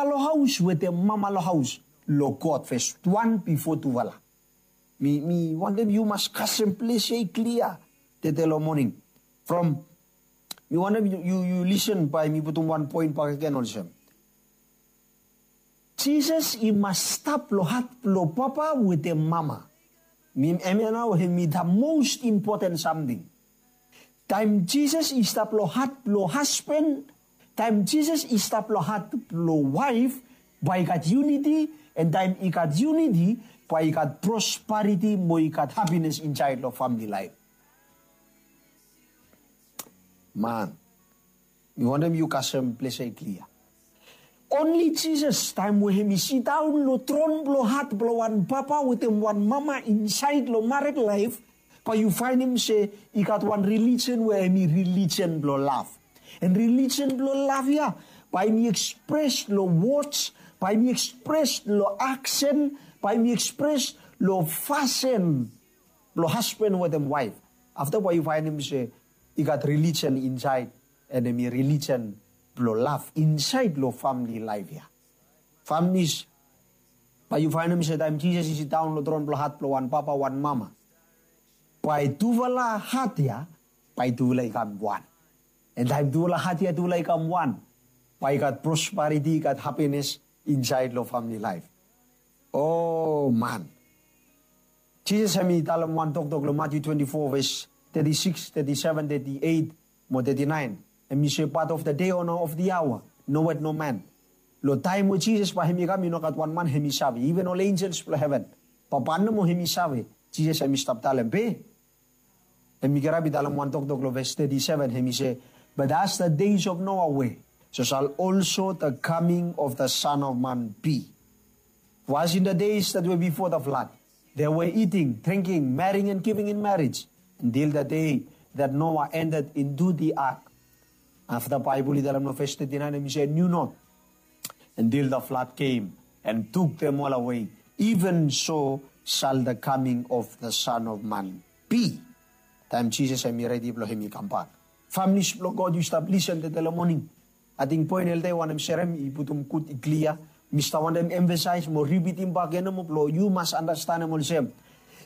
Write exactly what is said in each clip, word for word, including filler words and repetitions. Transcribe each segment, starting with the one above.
lo haus wetem mama lo haus lo God, ves wan bifo tufala. Mi, mi wantem yu mas kasem ples ya i klia tede lo moning. From, mi wantem yu, yu, yu lisen bae mi putum wan poen bakegen olsem. Jisas i mas stap lo hat blo papa wetem mama. Mi, hemia nao hemi the most important samting. Taem Jisas i stap lo hat blo hasban, taem Jisas i stap lo hat blo waef, bae i gat unity, and taem i gat unity, bae i gat prosperity mo i gat happiness insaed lo famili laef. Man, mi wantem yu kasem ples ya i klia. Only Jisas, taem we hemi sidaon lo tron blo hat blo wan papa wetem wan mama insaed lo mared laef, bae yu faenem se i gat wan religion we hemi religion blo lav. And religion blo lav ya, bae hemi ekspres lo words, bae hemi ekspres lo aksen, bae hemi ekspres lo fasin blo hasban wetem waef. Afta bae yu faenem se i gat religion insaed, and hemi religion blo lav insaed lo famili laef ya. Familis, bae yu faenem se taem Jisas i sidaon lo tron blo hat blo wan papa, wan mama, bae tufala hat ya, bae tufala i kam wan. And taem tufala hat ya tufala i kam wan, bae i gat prosperity, i gat happiness insaed lo famili laef. O man. Jisas hemi talem wan toktok lo Matthew twenty-four, ves thirty-six, thirty-seven, thirty-eight, mo thirty-nine. Hemi se, but of the day or of the hour, knoweth no man. Lo taem we Jisas bae hemi kam, i no gat wan man hemi save, iven ol enjels blo heven. Papa nomo hemi save. Jisas hemi stap talem be. Hemi kirap i talem wan toktok lo ves thirty-seven, hemi se, but as the days of Noah were, so shall also the coming of the Son of Man be. For as in the days that were before the flood, they were eating, drinking, marrying, and giving in marriage, until the day that Noah entered into the ark. Afta Baebol i talem lo ves thirty-nine, hemi se, knew not until the flood came and took them all away. Even so shall the coming of the Son of Man be. Taem Jisas hemi redi blo hemi kambak. Familis blo God, yu stap lisen tede lo moning. Ating poen elde wanem serem i putum gud i klia. Mi stap wantem emfasaes mo ripitim bakegen nomo blo yu mas andastanem olsem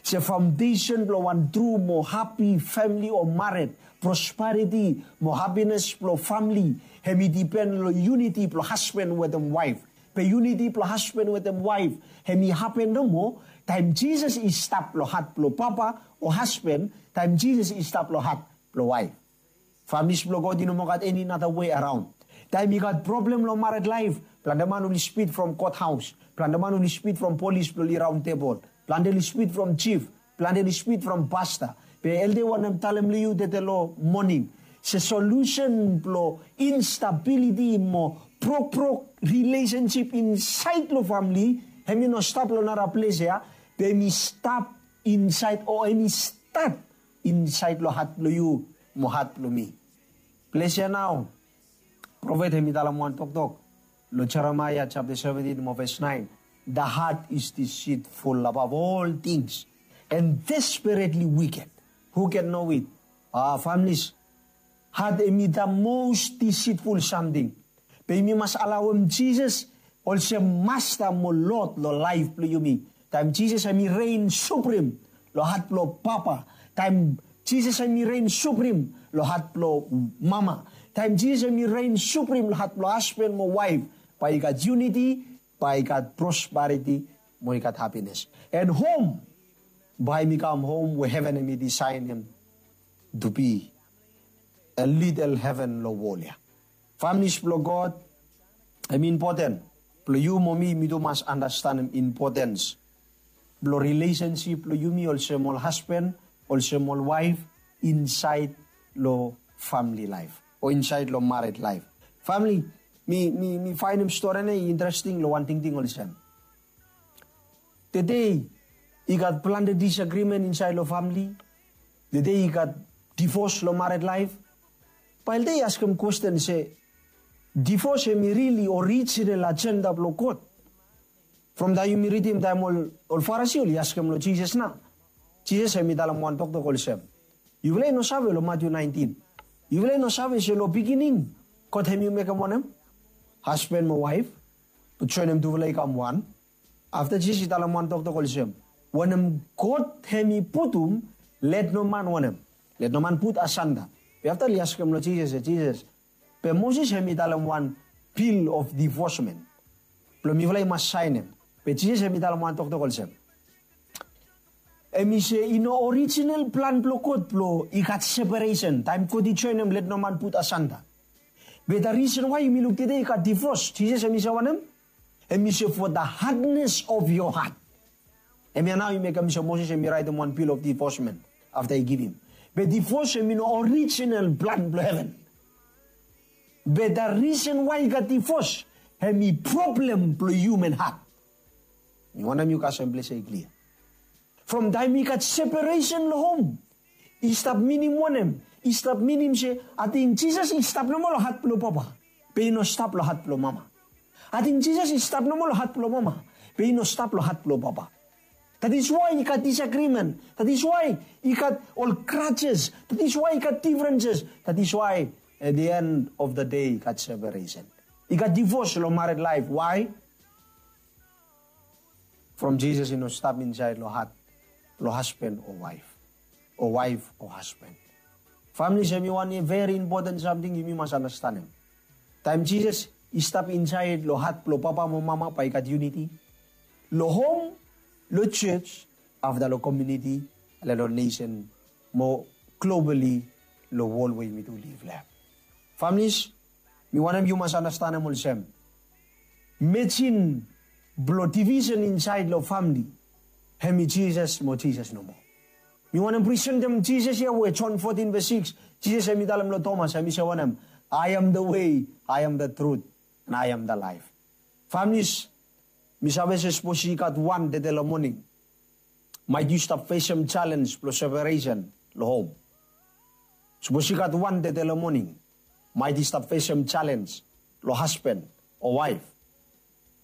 se faondesen blo wan tru mo hapi famili o mared, prosperity mo hapines blo famili, hemi dipen lo unity blo hasban wetem waef. Be unity blo hasban wetem waef hemi hapen nomo taem Jisas i stap lo hat blo papa o hasban, taem Jisas i stap lo hat blo waef. Familis blo God, i no moa gat eni nara wei araon. Taem i gat problem lo mared laef, plante man oli spid from kot haos, plante man oli spid from polis blo oli raon tebol, plante oli spid from jif, plante oli spid from pasta. Be elde wantem talem lo yu tede lo moning se solusen blo instabiliti mo brokbrok rilesensip insaed lo famili, hemi no stap lo nara ples ya, be hemi stap insaed o hemi stat insaed lo hat blo yu mo hat blo mi. Ples ya nao profet hemi talem wan toktok lo Jeremaia japta seventin mo ves naen. The heart is deceitful above all things and desperately wicked. Who can know it? Ah, familis, hat hemi the most deceitful samting. Be yumi mas alaoem Jisas olsem Masta mo Lod lo laef blo yumi. Taem Jisas hemi rein suprim lo hat blo papa, taem Jisas hemi rein suprim lo hat blo mama, taem Jisas hemi rein suprim lo hat blo hasban mo waef, bae i gat unity, bae i gat prosperity, mo i gat hapines. And hom bae hemi kam hom we heven hemi disaenem to be a little heaven lo wol ya. Familis blo God, hemi impoten blo yu mo mi, mi tu mas andastanem impotens blo rilesensip blo yumi olsem ol hasban, olsem ol waef insaed lo famili laef o insaed lo mared laef. Famili, mi, mi, mi faenem stori ya i interesting lo wan tingting olsem. Tede i gat plante disagrimen insaed lo famili. Tede i gat divos lo mared laef. Bae elde i askem kwesten se, divos hemi rili orijinal ajenda blo God? From taem yumi ridim taem ol, ol Farisi oli askem lo Jisas nao. Jisas hemi talem wan toktok olsem, yufala i no save lo Matyu naentin? Yufala i no save se lo bigining God hemi mekem wanem? Hasban mo waef. joenem tufala i kam wan. Afta Jisas i talem wan toktok olsem, wanem God hem i putum, let no man wanem, let no man put asanda. Be afta oli askem long Jisas, Jisas, be Moses hem i talem wan bill of divorcement blong mifala i mas saenem. Be Jisas hem i talem wan toktok olsem, hem i se i no orijinal plan blong God blong i gat separesen taem God i joenem let no man put asanda. Be the reason why yumi luk tede i gat divos, Jisas hem i se wanem? Hem i se for the hardness of your heart. Hemia nao i mekem se Moses hem i raetem wan bill of divorcement afta i givim. Be divos hem i no orijinal plan blong heven. Be the reason why i gat divos hem i problem blong human heart. Mi wantem yu kasem ples ya i klia. From taem i gat separesen long hom, i stap minim wanem? I stap minim se ating Jisas i stap nomo long hat blong papa, be i no stap long hat blong mama. Ating Jisas i stap nomo long hat blong mama, be i no stap long hat blong papa. That is why i gat disagreement. That is why i gat ol grudges. That is why i gat differences. That is why at the end of the day i gat separesen. I gat divos long married life. Why? From Jisas i no stap insaed long hat blong hasban o waef, o waef o hasban. Famili, hemi wan veri impoten samting yumi mas anastenem. Taem Jisas i stap insaed long hat blong papa mo mama, bae i gat unity long hom, long jos, afta long komuniti, long nesen, mo globali, long wol we yumi tu liv long hem. Familis, mi wantem yu mas anastenem olsem, mejin blong divisen insaed long famili, hemi Jisas mo Jisas nomo. Mi wantem presentem Jisas ya we John fourteen verse six, Jisas hemi talem long Tomas, hemi se wanem? I am the way, I am the truth, and I am the life. Familis, mi save se sapos i gat wan tede long moning, maet yu stap fesem jalenj blong separesen long hom. Sapos i gat wan tede long moning, maet i stap fesem jalenj long hasban o waef.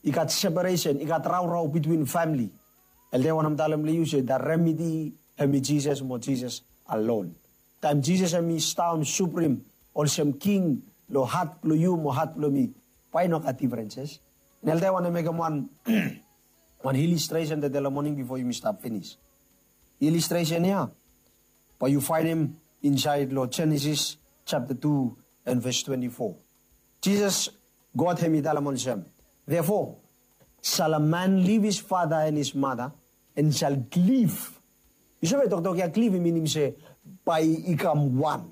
I gat separesen, i gat raorao bitwin famili. Elda i wantem talem long yu se the remedy hemi Jisas mo Jisas alone. Taem Jisas hemi sidaon suprim olsem king long hat blong yu mo hat blong mi, bae i no gat diferenses. Elda i wantem mekem wan wan ilistresen tede long moning bifo yumi stap finis. Ilistresen ya bae yu faenem insaed long Jenesis japta tu and ves twante fo. Jisas, God hemi talem olsem, therefore shall a man leave his father and his mother and shall cleave. Yu save toktok ya, cleave i minim se bae i kam wan.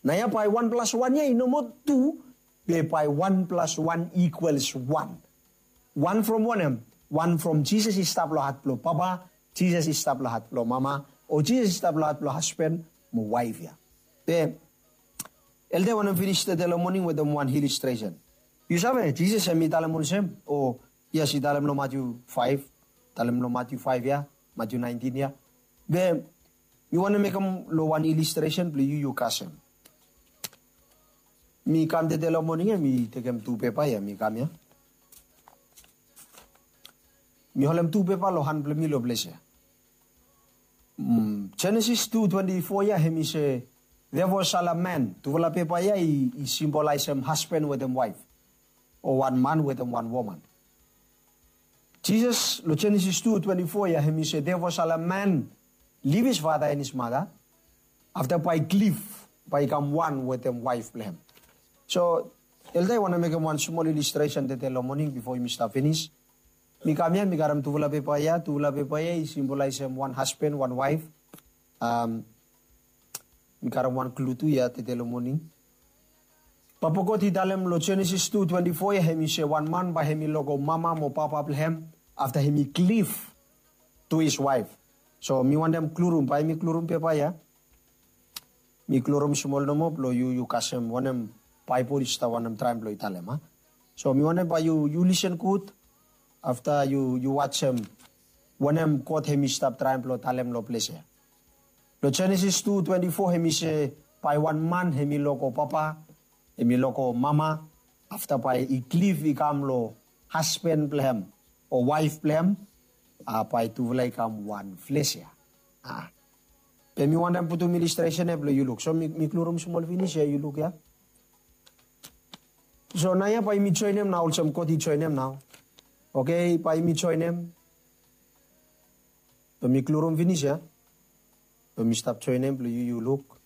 Naoia bae wan plas wan ya i no moa tu, be bae wan plas wan equals wan. Wan from wanem? Wan from Jisas i stap long hat blong papa, Jisas i stap long hat blong mama, o Jisas i stap long hat blong hasban mo waef ya. Be elda i wantem finis tede long moning wetem wan ilistresen. Yu save, Jisas hemi talem olsem, o yes, i talem long Matiu faef, talem long Matiu faef ya, Matiu naentin ya. Be mi wantem mekem long wan ilistresen blong yu yu kasem. Mi kam tede long moning ya, mi tekem tu pepa ya, mi kam ya. Mi holem tu pepa long han blong mi long ples ya. Jenesis tu twante fo ya hemi se, therefore shall a man, tufala pepa ya i simbolaesem hasban wetem waef, o wan man wetem wan woman. Jisas long Jenesis tu twante fo ya hemi se, therefore shall a man leave his father and his mother, afta bae i cleave, bae i kam wan wetem waef blong hem. So elda i wantem mekem wan smol ilistresen tede long moning bifo yumi stap finis. Mi kam ya, mi karem tufala pepa ya, tufala pepa ya i simbolaesem wan hasban, wan waef. Mi karem wan klu tu ya tede long moning. Papa God i talem long Jenesis tu twante fo ya hemi se wan man bae hemi lego mama mo papa blong hem, afta hemi cleave to his wife. So mi wantem klurum, bae mi klurum pepa ya. Mi klurum smol nomo blong yu yu kasem wanem Baebol i stap wantem traem blong i talem a. So mi wantem bae yu yu lisen gud, afta yu yu wajem wanem God hemi stap traem blong talem long ples ya. Long Jenesis tu twante fo hemi se bae wan man hemi lego papa, hemi lego mama, afta bae i cleave i kam long hasban blong hem o waef blong hem, a bae tufala i kam wan fles ya. A be mi wantem putum ilistresen ya blong yu luk. So mi mi klurum smol finis ya, yu luk ya. So naoia bae yumi joenem nao olsem God i joenem nao. Oke, bae yumi joenem. Bae mi klurum finis ya. Bae mi stap joenem blong yu yu luk.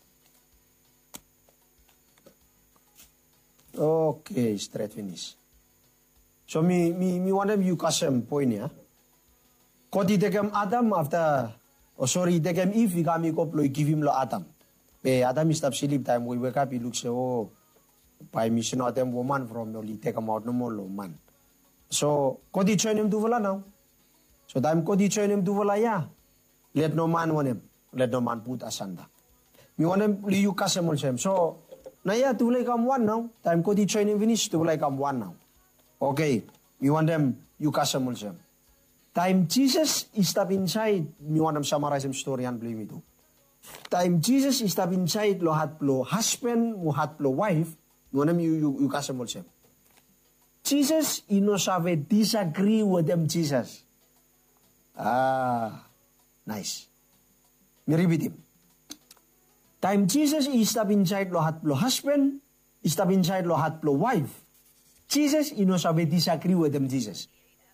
Oke, stret finis. So mi mi mi wantem yu kasem poen ya. God i tekem Adam afta, o sori, i tekem Iv i kam i go blong i givim long Adam. Be Adam i stap slip, taem we i wekap i luk se, o, bae mi snotem woman from oli tekemaot nomo long man. So God i joenem tufala nao. So taem God i joenem tufala ya, let no man wanem, let no man put asunder. Mi wantem blong yu kasem olsem. So naoia tufala i kam wan nao. Taem God i joenem finis, tufala i kam wan nao. Oke, mi wantem yu kasem olsem. Taem Jisas i stap insaed, mi wantem samaraesem storian blong yumi tu. Taem Jisas i stap insaed long hat blong hasban mo hat blong waef, mi wantem yu yu yu kasem olsem. Jisas i no save disagri wetem Jisas. A, naes. Mi ripitim. Taem Jisas i stap insaed long hat blong hasban, i stap insaed long hat blong waef, Jisas i no save disagri wetem Jisas.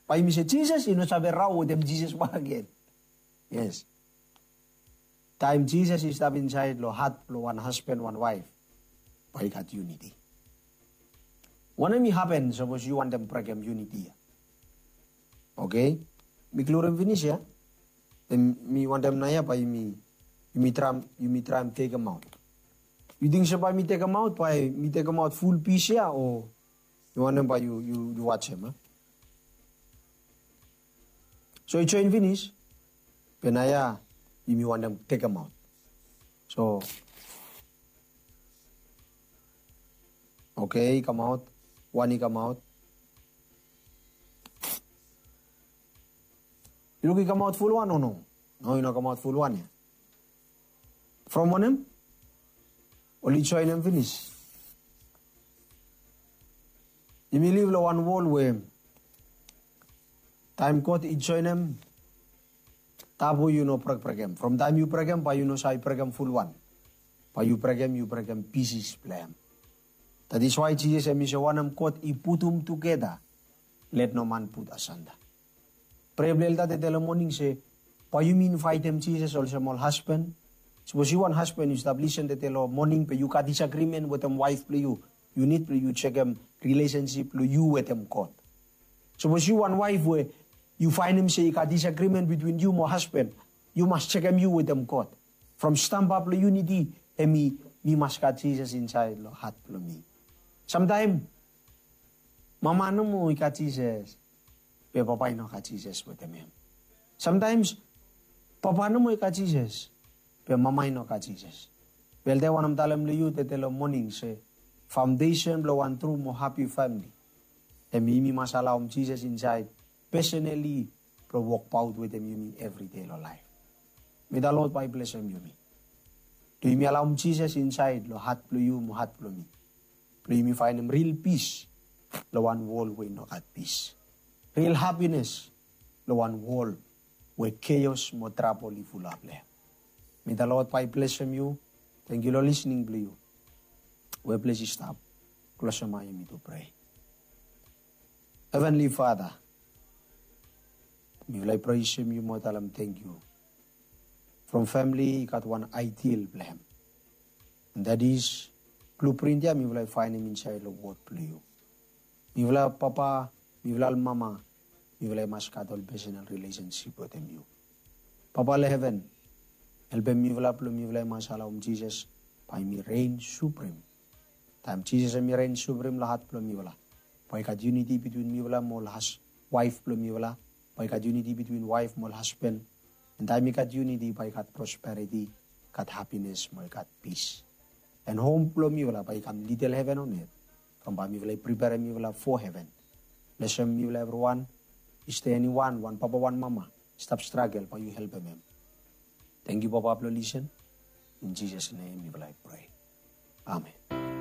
Bae yumi se Jisas i no save rao wetem Jisas bakegen. Yes. Taem Jisas i stap insaed long hat blong wan hasban wan waef, bae i gat yuniti. Wanem i hapen sapos yu wantem brekem yuniti ya? Oke, mi klurum finis ya. Then mi wantem naoia bae yumi yumi traem yumi traem tekemaot. Yu ting se bae mi tekemaot, bae mi tekemaot ful pis ya, o yu wantem bae yu yu yu wajem, a? So i joen finis. Be naoia yumi wantem tekemaot. So, oke, i kamaot. Wan i kamaot. Yu luk i kamaot fulwan o no? No, i no kamaot fulwan ya. From wanem? Oli joenem finis. Yumi liv long wan wol we taem God i joenem, tabu yu no brekbrekem. From taem yu brekem, bae yu no save brekem fulwan. Bae yu brekem, yu brekem pisis blong hem. That is why Jisas hem i se wanem God i putum tugeta, let no man put asunder. Prea blong elda tede long moning se, bae yumi invaetem Jisas olsem ol hasban. Sapos yu wan hasban yu stap lisen tede long moning be yu gat disagrimen wetem waef blong yu, yu nid blong yu jekem rilesensip blong yu wetem God. Sapos yu wan waef we yu faenem se i gat disagrimen bitwin yu mo hasban, yu mas jekem yu wetem God. From stamba blong yuniti hem i, mi mas gat Jisas insaed long hat blong mi. Samtaem mama nomo i gat Jisas, be papa i no gat Jisas wetem hem. Samtaem papa nomo i gat Jisas, be mama i no gat Jisas. Be elda i wantem talem long yu tede long moning se faondesen blong wan tru mo hapi famili hem yumi mas alaom Jisas insaed pesonali blong wokbaot wetem yumi evri dei long laef. May the Lord bae i blesem yumi. Blong yumi alaom Jisas insaed long hat blong yu mo hat blong mi. Blong yumi faenem ril pis long wan wol we i no gat pis. Ril hapines long wan wol we keos mo trabol i fulap long hem. May the Lord bae i blesem yu. Tangkiu long lisning blong yu. We ples i stap, klosem ae yumi tu prea. Heavenly Father, mifala i presem yu mo talem tangkiu. From famili i gat wan aedial blong hem. And that is, bluprint ya mifala i faenem insaed long wod blong yu. Mifala papa, mifala mama, mifala i mas gat ol pesonal rilesensip wetem yu. Papa long heven, helpem mifala blong mifala i mas alaom Jisas bae hem i ren suprim. Taem Jisas hem i ren suprim long hat blong mifala, bae i gat yuniti bitwin mifala mo ol has waef blong mifala, bae i gat yuniti bitwin waef mo ol hasban. And taem i gat yuniti bae i gat prosperiti, gat hapines mo i gat pis. And hom blong mifala bae i kam lidel heven on het. From bae mifala i priperem mifala fo heven. Blesem mifala evriwan. Is there anyone, wan papa wan mama i stap stragel, bae yu helpem hem. Tangkiu Papa blong lisen. In Jisas nem mifala i prea. Amen.